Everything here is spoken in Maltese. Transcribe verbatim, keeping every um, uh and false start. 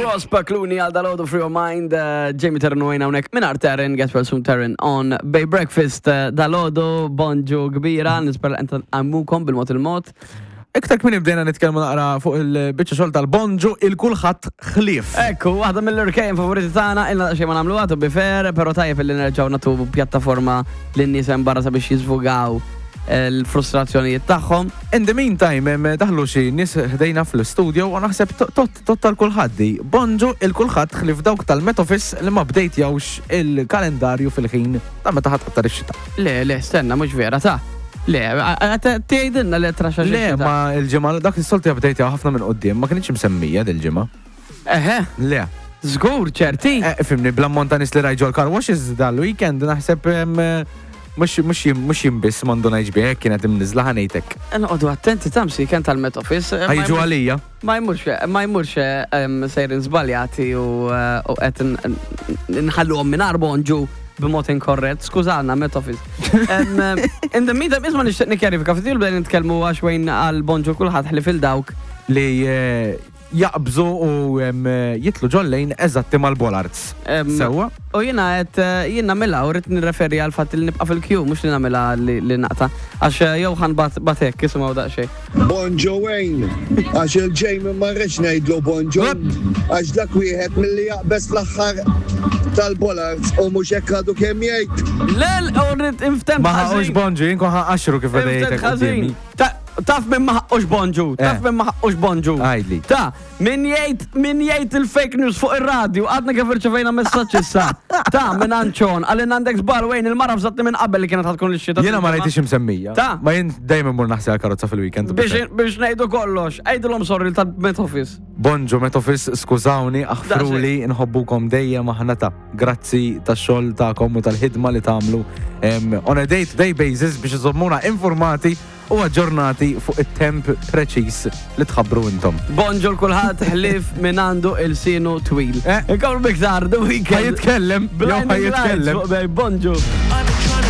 Ross Pakluni għal dalgħodu Free Your Mind, uh, Jamie Taryn u hawnhekk minn Taryn, get well soon Taryn on Bay Breakfast uh, dalgħodu, bonġu kbira, nispera enta għammukom bil-mod il-mod. Iktar kmieni bdejna nitkellmu naqra fuq il-biċċa xogħol tal-bonġu il-kulħadd ħlief. Ekku, waħda mill-irkejjen favoriti tagħna, ilna xejn ma nagħmluha to be fair, però tajjeb li nerġgħu nagħtu pjattaforma lin-nies hemm barra sabiex jiżvugaw l-frustrazzjonijiet tagħhom. In the meantime, em, daħlu xi nies ħdejna fl-studio u naħseb tot tot tal-kulħadd di. Bonġu il-kulħadd ħlief dawk tal-Met Office li ma bdejtjawx il-kalendarju fil-ħin ta' meta ħadd qattar ix-xita. Le, le, stenna, mhux vera ta' Le, tgħidilna li traxa. Le, ma il-ġimgħa dak is-soltu jabdejtjaw ħafna minn quddiem, ma kienx msemmija dil-ġimgħa. Eħe, Le. żgur, ċerti. Eh, Fimni, bl-ammont ta' nies li rajt ġol car washes dal-weekend naħseb em, mhux mhux jim- mhux jimbis m'għandu ngħidx bih kienet imniżla ħa ngħidlek. Noqogħdu attenti tamsi kien tal-Met Office. Eh, ma Ħa jiġu jmurx- għalija. Ma jmurx, ma jmurx em, sejrin żbaljati u eh, u qed n- nħalluhom minn bonġu b'mod inkorrett. Skużana, Met Office. Em, em, In the meantime, isma' nixtieq nikkjarifika, ftit bdejna nitkellmu għax wejn għal bonġu kulħadd ħlief il-dawk. Li eh, jaqbżu u em, jitlu ġollejn eżatti mal-bollards. Em, Sewwa? U jiena qed eh, jien nagħmilha u rrid nirreferi għal fatt li nibqa' fil-queue mhux li nagħmilha li li naqta'. Għax eh, jew ħan bat batek isimgħu daqsxejn. Bonġu Wayne, għax il-Jamie ma rridx ngħidlu bonġu, għax dak wieħed milli jaqbeż fl-aħħar tal-bollards u mhux hekk għadu kemm jgħid. Lel, u rrid inftem Ma ħaqux ħażin. bonġu, jien kon ħaqaxru kif beda Inftem jgħidlek ħażin. quddiemi. Ta- Taf minn ma ħaqqux bonġu, taf Eh. minn ma ħaqqux bonġu. Għidli. Ta, min jgħid min jgħid il-fake news fuq ir-radju, għadna kif irċevejna messaġġ issa. Ta, minn Anċon, għalin għandek żball Wayne, il-mara fżatni minn qabel li kienet ħa tkun l-xita. Jiena ma rajtix imsemmija. Ta. Ma jien dejjem immur naħsel għal-karozza fil-weekend. Biex biex ngħidu kollox, għidilhom sorry tal-Met Office. Bonġu Met Office, skużawni, aħfruli, nħobbukom dejjem aħna ta' grazzi tax-xogħol tagħkom u tal-ħidma li tagħmlu em, on a day-to-day basis biex iżommuna informati u aġġornati fuq it-temp preċis li tħabbru intom. Bonġu l-kulħadd ħlief minn għandu il-sinu twil. Eh. Ikomplu biktar, The Ħa Weekend. jitkellem, jew ħa Blinding Lights jitkellem. fuq Bay, Bonġu.